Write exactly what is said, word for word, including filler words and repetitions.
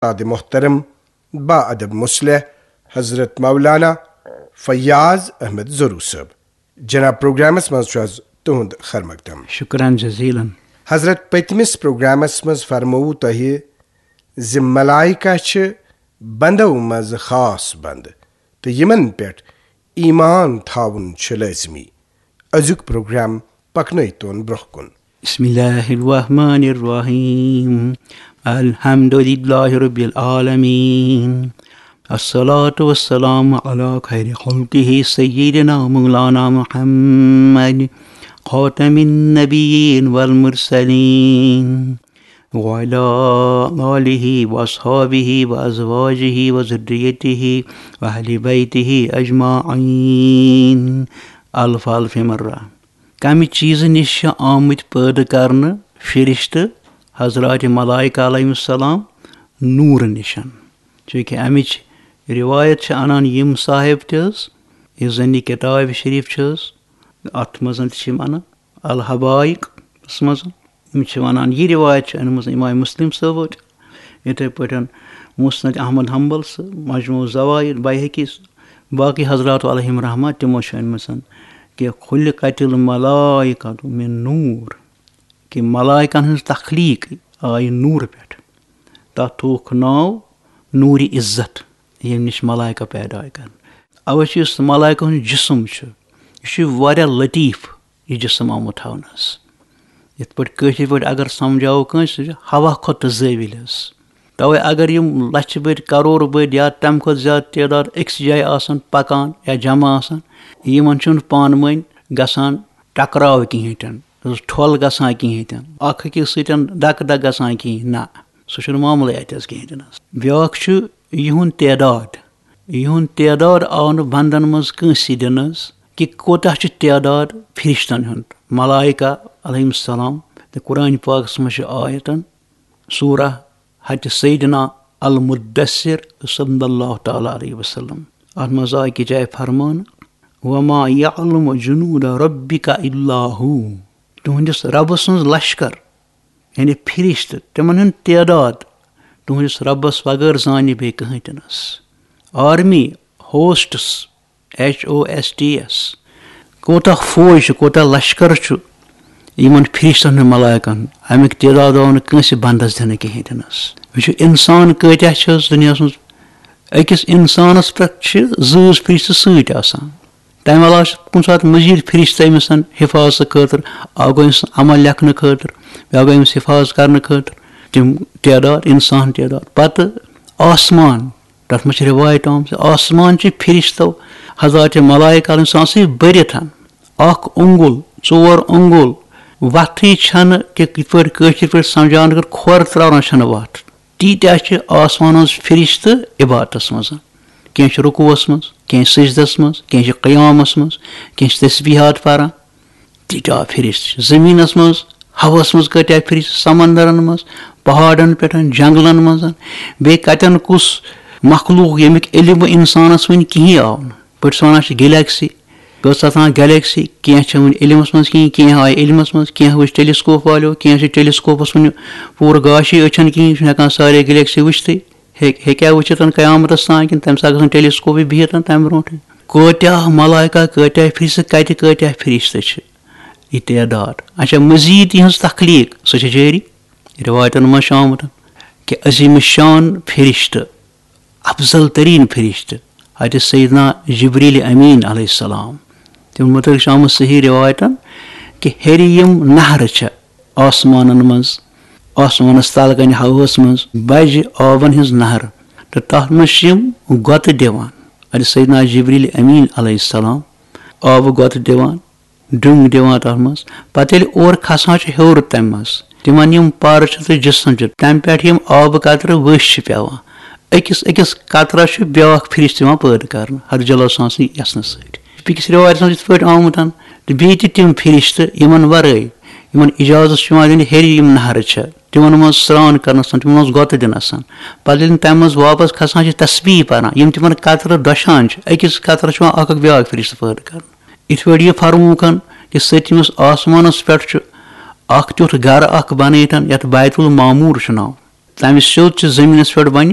استاد محترم با ادب مصلح حضرت مولانا فیاض احمد زرو صٲب۔ جناب، پروگرامس منٛز چھُ از تُہُنٛد خیر مقدم۔ شکران جزیلن۔ حضرت، پٔتمِس پروگرامس منٛز فرمووُ تۄہہِ زِ ملائکہ چھِ بندو منٛز خاص بند تہٕ یِمن پٮ۪ٹھ ایمان تھاوُن چھُ لٲزمی۔ أزیُک پروگرام پکنٲوتون برونٛہہ کُن۔ بسم الله الرحمن الرحيم. الحمد لله رب العالمين. الصلاة والسلام على خير خلقه سيدنا مولانا محمد خاتم النبيين والمرسلين وعلى آله وأصحابه وأزواجه وذريته وأهل بيته أجمعين. الف الف مرة. کمہِ چیٖزٕ نِش چھِ آمٕتۍ پٲدٕ کرنہٕ فرشتہٕ، حضرات ملائکہ علیہم السلام، نوٗرٕ نِشن؟ چونکہ امِچ روایت چھِ انان یِم صاحب تہِ حظ، یُس زن یہِ کتاب شریف چھِ حظ، اتھ منٛز تہِ چھِ یِم انان الحبائقس منٛز۔ یِم چھِ ونان، یہِ روایت چھِ أنمٕژ امام مسلم صٲبو تہِ، یِتھے پٲٹھۍ مسند احمد حنبل سہٕ، مجموع الزوائد بیہقی سہٕ، باقی حضرات علیہم رحمہ تِمو چھِ أنمٕژ کہ خلقت الملائکۃ من نور، کہ ملائکن ہٕنٛز تخلیق آیہِ نوٗرٕ پٮ۪ٹھ۔ تتھ تھووُکھ ناو نوٗرِ عزت، ییٚمہِ نِش ملائکہ پیدا آیہِ کرنہٕ۔ اوے چھُ یُس ملائکہ ہُنٛد جسم چھُ، یہِ چھُ واریاہ لطیف، یہِ جسم آمُت تھاونہٕ حظ۔ یِتھ پٲٹھۍ کٲشِر پٲٹھۍ اگر سمجھاوو کٲنٛسہِ، سُہ چھُ ہوا کھۄتہٕ تہٕ زٲوِلۍ حظ۔ توے اگر یِم لچھِ بٔدۍ، کرور بٔدۍ یا تمہِ کھۄتہٕ زیادٕ تعداد أکِس جایہِ آسن پکان یا جمع آسان، یِمن چھُنہٕ پانہٕ ؤنۍ گژھان ٹکراو کِہینۍ تہِ نہٕ، ٹھۄل گژھان کِہینۍ تہِ نہٕ، اکھ أکِس سۭتۍ دکہٕ دکہٕ گژھان کِہینۍ، نہ، سُہ چھُنہٕ معاملٕے اتہِ حظ کِہینۍ تہِ نہٕ حظ۔ بیٛاکھ چھُ یِہُنٛد تعداد۔ یِہُنٛد تعداد آو نہٕ بندن منٛز کٲنٛسہِ دِنہٕ حظ کہِ کوتاہ چھُ تعداد فرشتن ہُنٛد۔ ملائکہ علیہم السلام تہٕ قرآن پاکس منٛز چھِ آیتن سورہ حضرت سیدنا المدثر صلی اللہ تعالیٰ علیہ وسلم۔ اتھ منٛز آو أکِس جایہِ فرمان، "وما يعلم جنود ربك إلا هو"، تُہنٛدِس ربہٕ سٕنٛز لشکر، یعنی فرشتہٕ، تِمن ہُنٛد تعداد تُہنٛدِس ربس وغٲر زانہِ بیٚیہِ کٕہٕنۍ تہِ نہٕ حظ۔ Army hosts, H O S T S, کوتاہ فوج چھُ، کوتاہ لشکر چھُ یِمن فرشتن ہُنٛد ملائکن، امیُک تعداد آو نہٕ کٲنٛسہِ بندس دِنہٕ کِہینۍ تہِ نہٕ حظ۔ وٕچھِو، انسان کۭتیاہ چھِ حظ دُنیاہس منٛز؟ أکِس انسانس پٮ۪ٹھ چھِ زۭز فرشتہٕ سۭتۍ آسان۔ تمہِ علاوٕ چھِ کُنہِ ساتہٕ مزید فرشتہٕ أمِس حفاظتہٕ خٲطرٕ، اکھ گوٚو أمِس عمل لیکھنہٕ خٲطرٕ، بیٛاکھ گوٚو أمِس حفاظت کرنہٕ خٲطرٕ۔ تِم تعداد، انسان تعداد۔ پتہٕ آسمان، تتھ منٛز چھِ روایت آمٕژ، آسمان چھِ فرشتو، حضرات ملائکہ علیہم السلام سۭتۍ بٔرِتھ۔ اکھ اونگُل، ژور اونگُل، وتھٕے چھنہٕ کہِ یِتھ پٲٹھۍ کٲشِر پٲٹھۍ سمجھاونہٕ خٲطرٕ کھۄر تراونس چھنہٕ وتھ۔ تیٖتیٛاہ چھِ آسمان ہٕنٛز فرشتہٕ عبادتس منٛز۔ کینٛہہ چھِ رکوعس منٛز، کینٛہہ سجدس منٛز، کینٛہہ چھِ قیامس منٛز، کینٛہہ چھِ تسبیحات پران۔ تیٖتیٛاہ فرشتہٕ چھِ زٔمیٖنَس منٛز، ہوہَس منٛز کۭتیٛاہ فرشتہٕ، سمندرَن منٛز، پہاڑَن پٮ۪ٹھ، جنگلَن منٛز۔ بیٚیہِ کَتٮ۪ن کُس مخلوق، ییٚمیُک علم اِنسانَس وٕنہِ کِہیٖنۍ آو نہٕ۔ پٲٹھۍ چھِ وَنان چھِ گیلیکسی، کۭژاہ تام گیلیکسی، کینٛہہ چھِ وٕنہِ علمَس منٛز کِہیٖنۍ، کینٛہہ آیہِ علمَس منٛز، کینٛہہ وٕچھ ٹیلیسکوپ والیو، کینٛہہ چھِ ٹیلیسکوپَس وٕنہِ پوٗرٕ گاشٕے أچھَن کِہیٖنۍ، چھِنہٕ ہٮ۪کان سارے گیلیکسی وٕچھتھٕے۔ ہیٚکہِ، ہیٚکیٛاہ وٕچھِتھ قیامتس تام کِنہٕ تَمہِ ساتہٕ گژھن ٹیلیسکوپٕے بِہِتھ تَمہِ برونٛٹھٕے؟ کۭتیٛاہ ملائکہ، کۭتیٛاہ فرشتہٕ، کَتہِ کۭتیٛاہ فرشتہٕ چھِ؟ یہِ تعداد۔ اچھا، مزید یِہٕنٛز تخلیق، سۄ چھِ جٲری۔ رِوایتن منٛز چھُ آمُت کہِ عظیم شان فرشتہٕ، افضل ترین فرشتہٕ، حضرت سیدنا جبریل امین علیہ السلام، تِمن متعلق چھُ آمُت صحیح رِوایتن کہِ ہیٚرِ یِم نہرٕ چھِ، آسمانن منٛز، آسمانس تل کنہِ ہوہس منٛز بجہِ آبن ہٕنٛز نہر، تہٕ تتھ منٛز چھِ یِم گۄتہٕ دِوان۔ اَتہِ سیدنا جبریل امین علیہ السلام آبہٕ گۄتہٕ دِوان، ڈوٚنگ دِوان تتھ منٛز۔ پتہٕ ییٚلہِ اورٕ کھسان چھِ ہیوٚر تمہِ منٛز، تِمن یِم پَر چھِ تہٕ جسم چھِ، تمہِ پٮ۪ٹھ یِم آبہٕ قطرٕ ؤسۍ چھِ پٮ۪وان، أکِس أکِس قطرس چھُ بیٛاکھ فرشتہٕ یِوان پٲدٕ کرنہٕ، حضرت جل سان سٕنٛدِ یژھنہٕ سۭتۍ۔ بیٚکِس رِوایتَس منٛز یِتھ پٲٹھۍ آمُت، تہٕ بیٚیہِ تہِ تِم فرشتہٕ یِمَن وَرٲے، یِمَن اِجازت چھُ یِوان دِنہٕ، ہیٚرِ یِم نہرٕ چھِ، تِمَن منٛز سرٛان کَرنَس تام، تِمَن منٛز گۄتہٕ دِنَس تام۔ پَتہٕ ییٚلہِ تِم تَمہِ منٛز واپَس کھسان چھِ، تسبیٖح پَران، یِم تِمَن قطرٕ دۄشان چھِ، أکِس قطرَس چھُ یِوان اَکھ اَکھ بیٛاکھ فرشتہٕ پٲدٕ کَرنہٕ۔ یِتھ پٲٹھۍ یہِ فرمووُکھ کہِ سٔتمِس آسمانَس پٮ۪ٹھ چھُ اَکھ تیُتھ گَرٕ اَکھ بَنٲیِتھ، یَتھ بیت المعمور چھُ ناو۔ تَمہِ سیوٚد چھُ زٔمیٖنَس پٮ۪ٹھ بَنہِ،